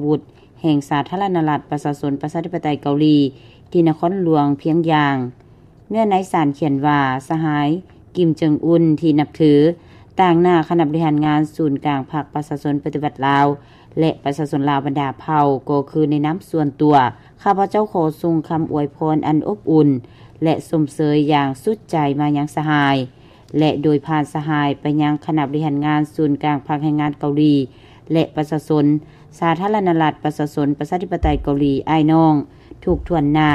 ວຸດ ແຫ່ງສາທາລະນະລັດ ປະຊາຊົນ ປະຊາທິປະໄຕເກົາຫຼີ ທີ່ນະຄອນຫຼວງພຽງຢາງ. ເນື້ອໃນສານຂຽນວ່າ ສະຫາຍ ກິມ ເຈິງອຸນ ທີ່ນັບຖື ຕາງໜ້າຄະນະບໍລິຫານງານສູນກາງພັກປະຊາຊົນປະຕິວັດລາວ ແລະ ປະຊາຊົນລາວບັນດາເຜົ່າ ກໍຄືໃນນາມສ່ວນຕົວ, ຂ້າພະເຈົ້າຂໍສົ່ງຄຳອວຍພອນອັນອົບອຸ່ນ ແລະ ຊົມເຊີຍຢ່າງສຸດໃຈມາຍັງສະຫາຍ ແລະ ໂດຍຜ່ານສະຫາຍໄປຍັງຄະນະບໍລິຫານງານສູນກາງພັກແຮງງານເກົາຫຼີ ແລະ ປະຊາຊົນ ສາທາລະນະລັດ ປະຊາຊົນ ປະຊາທິປະໄຕເກົາຫຼີ ອ້າຍນ້ອງ ທຸກຖ້ວນໜ້າ.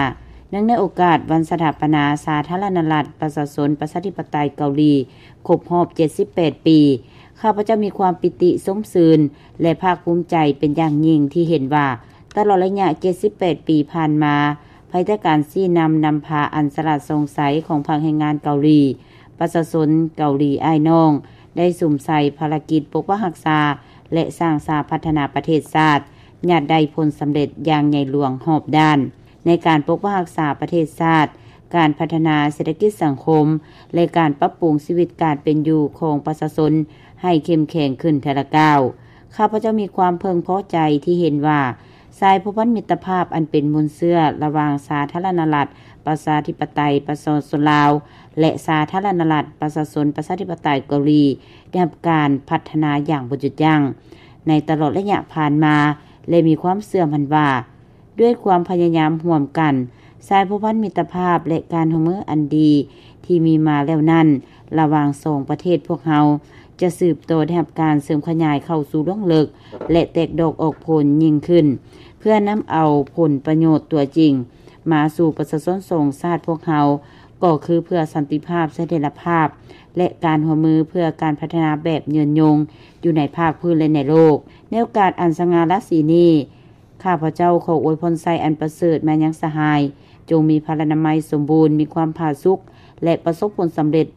ເນື່ອງໃນໂອກາດວັນສະຖາປະນາສາທາລະນະລັດ ປະຊາຊົນ ປະຊາທິປະໄຕເກົາຫຼີ ຄົບຮອບເຈັດສິບແປດປີ, ຂ້າພະເຈົ້າມີຄວາມປີຕິຊົມຊື່ນ ແລະ ພາກພູມໃຈເປັນຢ່າງຍິ່ງທີ່ເຫັນວ່າ ຕະຫຼອດໄລຍະເຈັດສິບແປດປີຜ່ານມາ, ພາຍໃຕ້ການຊີ້ນຳນຳພາອັນສະຫຼາດສ່ອງໃສຂອງພັກແຮງງານເກົາຫຼີ, ປະຊາຊົນເກົາຫຼີອ້າຍນ້ອງ ໄດ້ສຸມໃສ່ພາລະກິດປົກປັກຮັກສາ ແລະ ສ້າງສາພັດທະນາປະເທດຊາດ ຍາດໄດ້ຜົນສຳເລັດຢ່າງໃຫຍ່ຫຼວງຮອບດ້ານ ໃນການປົກປັກຮັກສາປະເທດຊາດ, ການພັດທະນາເສດຖະກິດສັງຄົມ ແລະ ການປັບປຸງຊີວິດການເປັນຢູ່ຂອງປະຊາຊົນໃຫ້ເຂັ້ມແຂງຂຶ້ນເທື່ອລະກ້າວ. ຂ້າພະເຈົ້າມີຄວາມເພິ່ງພໍໃຈທີ່ເຫັນວ່າ ສາຍພົວພັນມິດຕະພາບອັນເປັນມູນເຊື້ອລະຫວ່າງສາທາລະນະລັດ ປະຊາທິປະໄຕ ປະຊາຊົນລາວ ແລະ ສາທາລະນະລັດ ປະຊາຊົນ ປະຊາທິປະໄຕເກົາຫຼີ ໄດ້ຮັບການພັດທະນາຢ່າງບໍ່ຢຸດຢັ້ງໃນຕະຫຼອດໄລຍະຜ່ານມາ ແລະ ມີຄວາມເຊື່ອໝັ້ນວ່າ ດ້ວຍຄວາມພະຍາຍາມຮ່ວມກັນ, ສາຍພົວພັນມິດຕະພາບ ແລະ ການຮ່ວມມືອັນດີທີ່ມີມາແລ້ວນັ້ນ ລະຫວ່າງສອງປະເທດພວກເຮົາ ຈະສືບຕໍ່ໄດ້ຮັບການເສີມຂະຫຍາຍເຂົ້າສູ່ລວງເລິກ ແລະ ແຕກດອກອອກຜົນຍິ່ງຂຶ້ນ ເພື່ອນຳເອົາຜົນປະໂຫຍດຕົວຈິງມາສູ່ປະຊາຊົນສອງຊາດພວກເຮົາ, ກໍຄືເພື່ອສັນຕິພາບ, ສະຖຽນລະພາບ ແລະ ການຮ່ວມມືເພື່ອການພັດທະນາແບບຍືນຍົງຢູ່ໃນພາກພື້ນ ແລະ ໃນໂລກ. ໃນໂອກາດອັນສະຫງ່າລາສີນີ້, ຂ້າພະເຈົ້າຂໍອວຍພອນໄຊອັນປະເສີດມາຍັງສະຫາຍ, ຈົ່ງມີພະລານາໄມສົມບູນ, ມີຄວາມຜາສຸກ ແລະ ປະສົບຜົນສຳເລັດ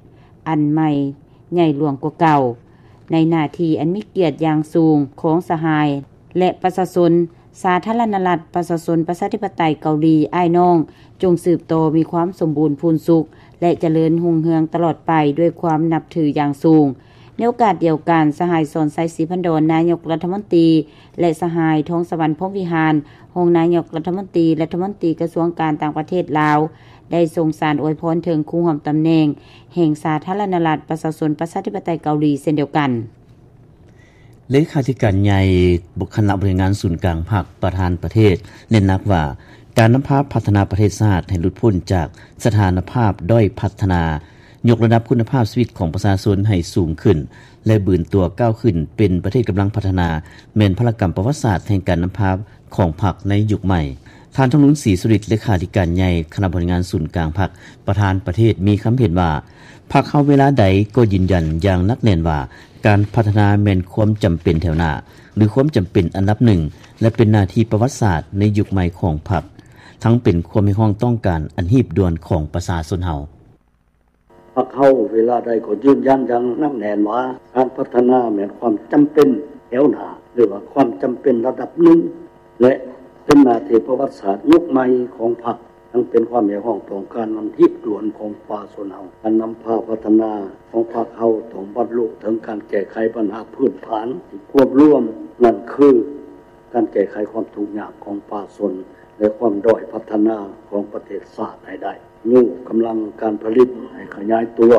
ອັນໃໝ່ໃຫຍ່ຫຼວງກວ່າເກົ່າ, ໃນໜ້າທີ່ອັນມີກຽດຢ່າງສູງຂອງສະຫາຍ ແລະ ປະຊາຊົນ ສາທາລະນະລັດ ປະຊາຊົນ ປະຊາທິປະໄຕເກົາຫຼີ ອ້າຍນ້ອງ, ຈົ່ງສືບຕໍ່ມີຄວາມສົມບູນພູນສຸກ ແລະ ຈະເລີນຮຸ່ງເຮືອງຕະຫຼອດໄປດ້ວຍຄວາມນັບຖືຢ່າງສູງ. ໃນໂອກາດດຽວກັນ, ສະຫາຍ ສອນໄຊ ສີພັນດອນ ນາຍົກລັດຖະມົນຕີ ແລະ ສະຫາຍ ທອງສະຫວັນ ພົມວິຫານ ຮອງນາຍົກລັດຖະມົນຕີ, ລັດຖະມົນຕີກະຊວງການຕ່າງປະເທດລາວ ໄດ້ສົ່ງສານອວຍພອນເຖິງຄູຮ່ວມຕຳແໜ່ງແຫ່ງສາທາລະນະລັດ ປະຊາຊົນ ປະຊາທິປະໄຕເກົາຫຼີ ເຊັ່ນດຽວກັນ. ເລຂາທິການໃຫຍ່ຄະນະບໍລິຫານງານສູນກາງພັກ ປະທານປະເທດ ເນັ້ນໜັກວ່າ ການນຳພາພັດທະນາປະເທດຊາດໃຫ້ຫຼຸດພົ້ນຈາກສະຖານະພາບດ້ອຍພັດທະນາ, ຍົກລະດັບຄຸນນະພາບຊີວິດຂອງປະຊາຊົນໃຫ້ສູງຂຶ້ນ ແລະ ບືນຕົວກ້າວຂຶ້ນເປັນປະເທດກຳລັງພັດທະນາ ແມ່ນພາລະກຳປະຫວັດສາດແຫ່ງການນຳພາຂອງພັກໃນຍຸກໃໝ່. ທ່ານ ທອງລຸນ ສີສຸລິດ ເລຂາທິການໃຫຍ່ຄະນະບໍລິຫານງານສູນກາງພັກ ປະທານປະເທດ ມີຄຳເຫັນວ່າ ພັກເຮົາເວລາໃດກໍຢືນຢັນຢ່າງໜັກແໜ້ນວ່າ ການພັດທະນາແມ່ນຄວາມຈຳເປັນແຖວໜ້າ ຫຼື ຄວາມຈຳເປັນອັນດັບໜຶ່ງ ແລະ ເປັນໜ້າທີ່ປະຫວັດສາດໃນຍຸກໃໝ່ຂອງພັກ, ທັງເປັນຄວາມຮຽກຮ້ອງຕ້ອງການອັນຮີບດ່ວນຂອງປະຊາຊົນເຮົາ. ພັກເຮົາເວລາໃດກໍຢືນຢັນຢ່າງໜັກແໜ້ນວ່າ ການພັດທະນາແມ່ນຄວາມຈຳເປັນແຖວໜ້າ ຫຼືວ່າຄວາມຈຳເປັນລະດັບໜຶ່ງ ແລະ ເປັນໜ້າທີ່ປະຫວັດສາດຍຸກໃໝ່ຂອງພັກ, ທັງເປັນຄວາມຮຽກຮ້ອງຕ້ອງການອັນຮີບດ່ວນຂອງປະຊາຊົນເຮົາ. ການນຳພາພັດທະນາຂອງພັກເຮົາຕ້ອງບັນລຸເຖິງການແກ້ໄຂບັນຫາພື້ນຖານທີ່ຄວບລວມ, ນັ້ນຄື ການແກ້ໄຂຄວາມທຸກຍາກຂອງປະຊາຊົນ ແລະ ຄວາມດ້ອຍພັດທະນາຂອງປະເທດຊາດໃຫ້ໄດ້, ຍູ້ກຳລັງການຜະລິດໃຫ້ຂະຫຍາຍຕົວ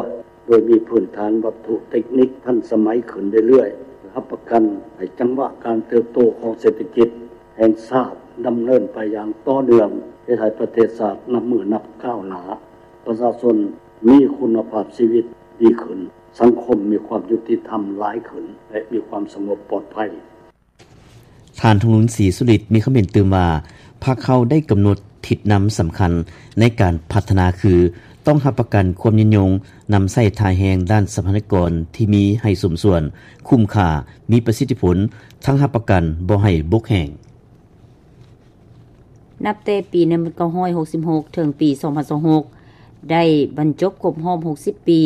ໂດຍມີພື້ນຖານວັດຖຸເຕັກນິກທັນສະໄໝຂຶ້ນເລື້ອຍໆ, ເພື່ອຮັບປະກັນໃຫ້ຈັງຫວະການເຕີບໂຕຂອງເສດຖະກິດແຫ່ງຊາດດຳເນີນໄປຢ່າງຕໍ່ເນື່ອງ, ເຮັດໃຫ້ປະເທດຊາດນັບມື້ນັບກ້າວໜ້າ, ປະຊາຊົນມີຄຸນນະພາບຊີວິດດີຂຶ້ນ, ສັງຄົມມີຄວາມຍຸຕິທຳຫຼາຍຂຶ້ນ ແລະ ມີຄວາມສະຫງົບປອດໄພ. ທ່ານ ທອງລຸນ ສີສຸລິດ ມີຄຳເຫັນຕື່ມວ່າ ພັກເຮົາໄດ້ກຳນົດທິດນຳສຳຄັນໃນການພັດທະນາຄື ຕ້ອງຮັບປະກັນຄວາມຍືນຍົງ, ນຳໃຊ້ທ່າແຮງດ້ານຊັບພະຍາກອນທີ່ມີໃຫ້ສົມສ່ວນ, ຄຸ້ມຄ່າ, ມີປະສິດທິຜົນ, ທັງຮັບປະກັນບໍ່ໃຫ້ບົກແຫ້ງ. ນັບແຕ່ປີໜຶ່ງພັນເກົ້າຮ້ອຍຫົກສິບຫົກ ເຖິງປີສອງພັນຊາວຫົກ ໄດ້ບັນຈົບຄົບຮອບຫົກສິບປີ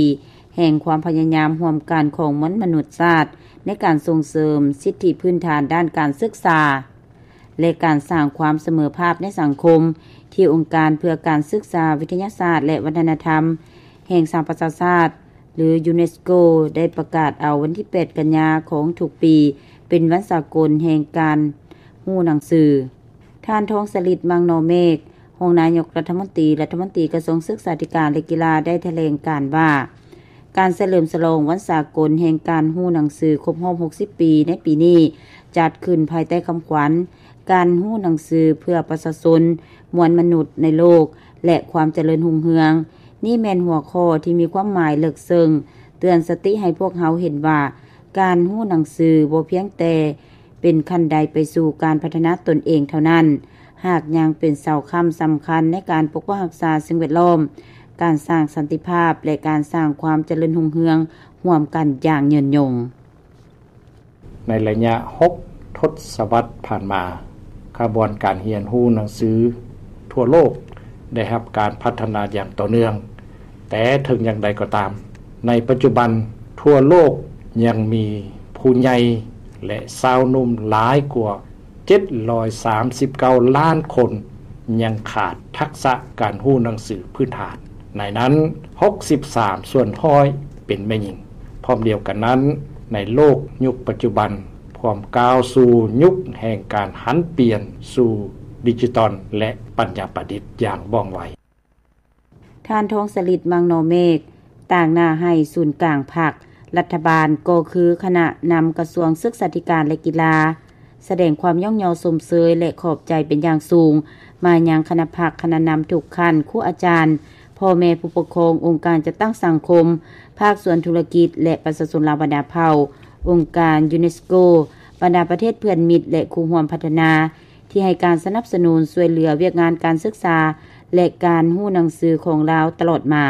ແຫ່ງຄວາມພະຍາຍາມຮ່ວມກັນຂອງມວນມະນຸດຊາດ ໃນການສົ່ງເສີມສິດທິພື້ນຖານດ້ານການສຶກສາ ແລະ ການສ້າງຄວາມສະເໝີພາບໃນສັງຄົມ ທີ່ອົງການເພື່ອການສຶກສາວິທະຍາສາດ ແລະ ວັດທະນະທຳ ແຫ່ງສະຫະປະຊາຊາດ ຫຼື ຢູເນສໂກ ໄດ້ປະກາດເອົາວັນທີແປດ ກັນຍາຂອງທຸກປີ ເປັນວັນສາກົນແຫ່ງການ ຮູ້ໜັງສື. ທ່ານ ທອງສະລິດ ມັງນໍເມກ ຮອງນາຍົກລັດຖະມົນຕີ, ລັດຖະມົນຕີກະຊວງສຶກສາທິການ ແລະ ກິລາ ໄດ້ຖະແຫຼງການວ່າ ການສະເຫຼີມສະຫຼອງວັນສາກົນແຫ່ງການຮູ້ໜັງສືຄົບຮອບຫົກສິບປີໃນປີນີ້ ຈັດຂຶ້ນພາຍໃຕ້ຄຳຂວັນ ການຮູ້ໜັງສືເພື່ອປະຊາຊົນ, ມວນມະນຸດໃນໂລກ ແລະ ຄວາມຈະເລີນຮຸ່ງເຮືອງ. ນີ້ແມ່ນຫົວຂໍ້ທີ່ມີຄວາມໝາຍເລິກເຊິ່ງ, ເຕືອນສະຕິໃຫ້ພວກເຮົາເຫັນວ່າ ການຮູ້ໜັງສືບໍ່ພຽງແຕ່ ເປັນຂັ້ນໄດໄປສູ່ການພັດທະນາຕົນເອງເທົ່ານັ້ນ, ຫາກຍັງເປັນເສົາຄ້ຳສຳຄັນໃນການປົກປັກຮັກສາສິ່ງແວດລ້ອມ, ການສ້າງສັນຕິພາບ ແລະ ການສ້າງຄວາມຈະເລີນຮຸ່ງເຮືອງຮ່ວມກັນຢ່າງຍືນຍົງ. ໃນໄລຍະຫົກທົດສະວັດຜ່ານມາ, ຂະບວນການຮຽນຮູ້ໜັງສືທົ່ວໂລກໄດ້ຮັບການພັດທະນາຢ່າງຕໍ່ເນື່ອງ, ແຕ່ເຖິງຢ່າງໃດກໍຕາມ, ໃນປັດຈຸບັນທົ່ວໂລກຍັງມີຜູ້ໃຫຍ່ ແລະ ຊາວໜຸ່ມຫຼາຍກວ່າເຈັດຮ້ອຍສາມສິບເກົ້າລ້ານຄົນຍັງຂາດທັກສະການຮູ້ໜັງສືພື້ນຖານ, ໃນນັ້ນຫົກສິບສາມສ່ວນຮ້ອຍເປັນແມ່ຍິງ. ພ້ອມດຽວກັນນັ້ນ, ໃນໂລກຍຸກປັດຈຸບັນ ພວມກ້າວສູ່ຍຸກແຫ່ງການຫັນປ່ຽນສູ່ດິຈິຕອນ ແລະ ປັນຍາປະດິດຢ່າງວ່ອງໄວ. ທ່ານ ທອງສະລິດ ມັງນໍເມກ ຕາງໜ້າໃຫ້ສູນກາງພັກ, ລັດຖະບານ ກໍຄືຄະນະນຳກະຊວງສຶກສາທິການ ແລະ ກິລາ ສະແດງຄວາມຍ້ອງຍໍຊົມເຊີຍ ແລະ ຂອບໃຈເປັນຢ່າງສູງ ມາຍັງຄະນະພັກ, ຄະນະນຳທຸກຂັ້ນ, ຄູອາຈານ, ພໍ່ແມ່ຜູ້ປົກຄອງ, ອົງການຈັດຕັ້ງສັງຄົມ, ພາກສ່ວນທຸລະກິດ ແລະ ປະຊາຊົນລາວບັນດາເຜົ່າ, ອົງການຢູເນສໂກ, ບັນດາປະເທດເພື່ອນມິດ ແລະ ຄູ່ຮ່ວມພັດທະນາ ທີ່ໃຫ້ການສະໜັບສະໜູນຊ່ວຍເຫຼືອວຽກງານການສຶກສາ ແລະ ການຮູ້ໜັງສືຂອງລາວຕະຫຼອດມາ.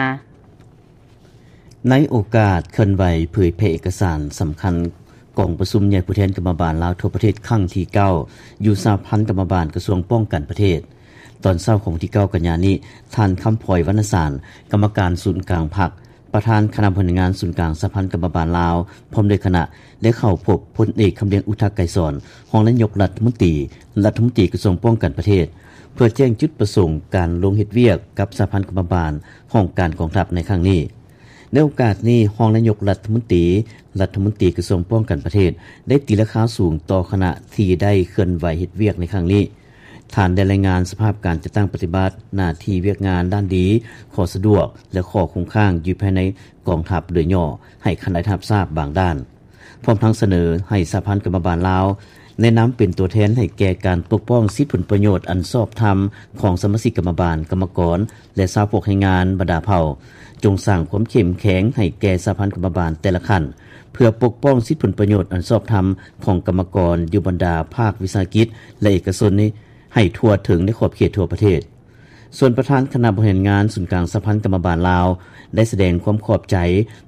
ໃນໂອກາດເຄື່ອນໄຫວເຜີຍແຜ່ເອກະສານສຳຄັນ ກອງປະຊຸມໃຫຍ່ຜູ້ແທນກຳມະບານລາວທົ່ວປະເທດຄັ້ງທີເກົ້າ ຢູ່ສະຫະພັນກຳມະບານກະຊວງປ້ອງກັນປະເທດ, ຕອນເຊົ້າຂອງວັນທີເກົ້າກັນຍານີ້, ທ່ານ ຄຳພອຍ ວັນນະສານ ກຳມະການສູນກາງພັກ, ປະທານຄະນະບໍລິຫານງານສູນກາງສະຫະພັນກຳມະບານລາວ ພ້ອມດ້ວຍຄະນະ ໄດ້ເຂົ້າພົບພົນເອກ ຄຳລຽງ ອຸທະໄກສອນ ຮອງນາຍົກລັດຖະມົນຕີ, ລັດຖະມົນຕີກະຊວງປ້ອງກັນປະເທດ ເພື່ອແຈ້ງຈຸດປະສົງການລົງເຮັດວຽກກັບສະຫະພັນກຳມະບານຫ້ອງການກອງທັບໃນຄັ້ງນີ້. ໃນໂອກາດນີ້, ຮອງນາຍົກລັດຖະມົນຕີ, ລັດຖະມົນຕີກະຊວງປ້ອງກັນປະເທດ ໄດ້ຕີລາຄາສູງຕໍ່ຄະນະທີ່ໄດ້ເຄື່ອນໄຫວເຮັດວຽກໃນຄັ້ງນີ້. ທ່ານໄດ້ລາຍງານສະພາບການຈັດຕັ້ງປະຕິບັດໜ້າທີ່ວຽກງານດ້ານດີ, ຂໍ້ສະດວກ ແລະ ຂໍ້ຄົງຄ້າງຢູ່ພາຍໃນກອງທັບໂດຍຫຍໍ້ໃຫ້ຄະນະໄດ້ຮັບຊາບບາງດ້ານ, ພ້ອມທັງສະເໜີໃຫ້ສະຫະພັນກຳມະບານລາວ ໃນນາມເປັນຕົວແທນໃຫ້ແກ່ການປົກປ້ອງສິດຜົນປະໂຫຍດອັນຊອບທຳຂອງສະມາຊິກກຳມະບານ, ກຳມະກອນ ແລະ ຊາວພວກແຮງງານບັນດາເຜົ່າ, ຈົ່ງສ້າງຄວາມເຂັ້ມແຂງໃຫ້ແກ່ສະຫະພັນກຳມະບານແຕ່ລະຂັ້ນ ເພື່ອປົກປ້ອງສິດຜົນປະໂຫຍດອັນຊອບທຳຂອງກຳມະກອນຢູ່ບັນດາພາກວິສາຫະກິດ ແລະ ເອກະຊົນນີ້ ໃຫ້ທົ່ວເຖິງໃນຂອບເຂດທົ່ວປະເທດ. ສ່ວນປະທານຄະນະບໍລິຫານງານສູນກາງສະຫະພັນກຳມະບານລາວ ໄດ້ສະແດງຄວາມຂອບໃຈ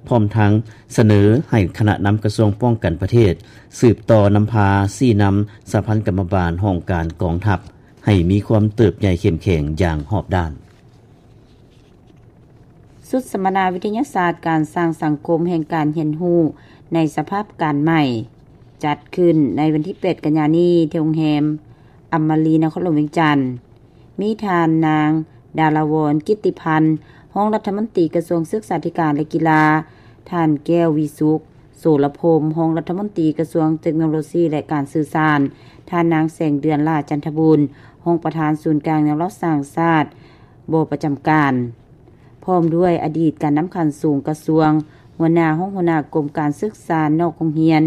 ພ້ອມທັງສະເໜີໃຫ້ຄະນະນຳກະຊວງປ້ອງກັນປະເທດ ສືບຕໍ່ນຳພາຊີ້ນຳສະຫະພັນກຳມະບານຫ້ອງການກອງທັບ ໃຫ້ມີຄວາມເຕີບໃຫຍ່ເຂັ້ມແຂງຢ່າງຮອບດ້ານ. ຊຸດສຳມະນາວິທະຍາສາດການສ້າງສັງຄົມແຫ່ງການຮຽນຮູ້ໃນສະພາບການໃໝ່ ຈັດຂຶ້ນໃນວັນທີແປດກັນຍານີ້ ທີ່ໂຮງແຮມອຳມາລີ ນະຄອນຫຼວງວຽງຈັນ. ມີທ່ານນາງ ດາລາວອນ ກິດຕິພັນ ຮອງລັດຖະມົນຕີກະຊວງສຶກສາທິການ ແລະ ກິລາ, ທ່ານ ແກ້ວ ວິສຸກ ໂສລະພົມ ຮອງລັດຖະມົນຕີກະຊວງເຕັກໂນໂລຊີ ແລະ ການສື່ສານ, ທ່ານນາງ ແສງເດືອນ ຫຼ້າຈັນທະບູນ ຮອງປະທານສູນກາງແນວລາວສ້າງຊາດ ບໍ່ປະຈຳການ, ພ້ອມດ້ວຍອະດີດການນຳຂັ້ນສູງກະຊວງ, ຫົວໜ້າຫ້ອງຫົວໜ້າກົມການສຶກສານອກໂຮງຮຽນ,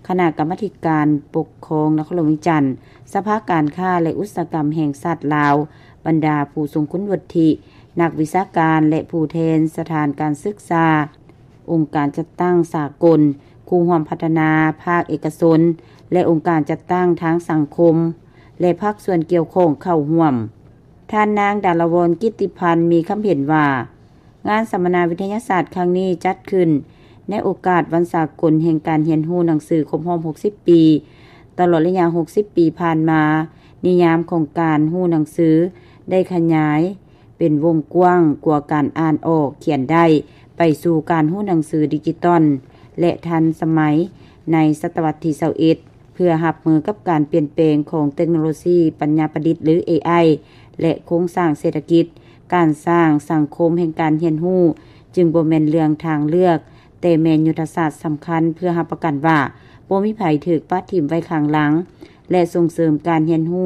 ຄະນະກຳມາທິການປົກຄອງນະຄອນຫຼວງວຽງຈັນ, ສະພາການຄ້າ ແລະ ອຸດສາຫະກຳແຫ່ງຊາດລາວ, ບັນດາຜູ້ຊົງຄຸນວຸດທິ, ນັກວິຊາການ ແລະ ຜູ້ແທນສະຖານການສຶກສາ, ອົງການຈັດຕັ້ງສາກົນ, ຄູ່ຮ່ວມພັດທະນາ, ພາກເອກະຊົນ ແລະ ອົງການຈັດຕັ້ງທາງສັງຄົມ ແລະ ພາກສ່ວນກ່ຽວຂ້ອງເຂົ້າຮ່ວມ. ທ່ານນາງ ດາລະວອນ ກິດຕິພັນ ມີຄຳເຫັນວ່າ, ງານສຳມະນາວິທະຍາສາດຄັ້ງນີ້ຈັດຂຶ້ນໃນໂອກາດວັນສາກົນແຫ່ງການຮຽນຮູ້ໜັງສືຄົບຮອບຫົກສິບປີ. ຕະຫຼອດໄລຍະຫົກສິບປີຜ່ານມາ, ນິຍາມຂອງການຮູ້ໜັງສືໄດ້ຂະຫຍາຍເປັນວົງກວ້າງກວ່າການອ່ານອອກຂຽນໄດ້ ໄປສູ່ການຮູ້ໜັງສືດິຈິຕອນ ແລະ ທັນສະໄໝໃນສະຕະວັດທີຊາວເອັດ. ເພື່ອຮັບມືກັບການປ່ຽນແປງຂອງເຕັກໂນໂລຊີປັນຍາປະດິດ ຫຼື ເອໄອ ແລະ ໂຄງສ້າງເສດຖະກິດ, ການສ້າງສັງຄົມແຫ່ງການຮຽນຮູ້ຈຶ່ງບໍ່ແມ່ນເລື່ອງທາງເລືອກ, ແຕ່ແມ່ນຍຸດທະສາດສຳຄັນເພື່ອຮັບປະກັນວ່າບໍ່ມີໃຜຖືກປະຖິ້ມໄວ້ຂ້າງຫຼັງ. ແລະ ສົ່ງເສີມການຮຽນຮູ້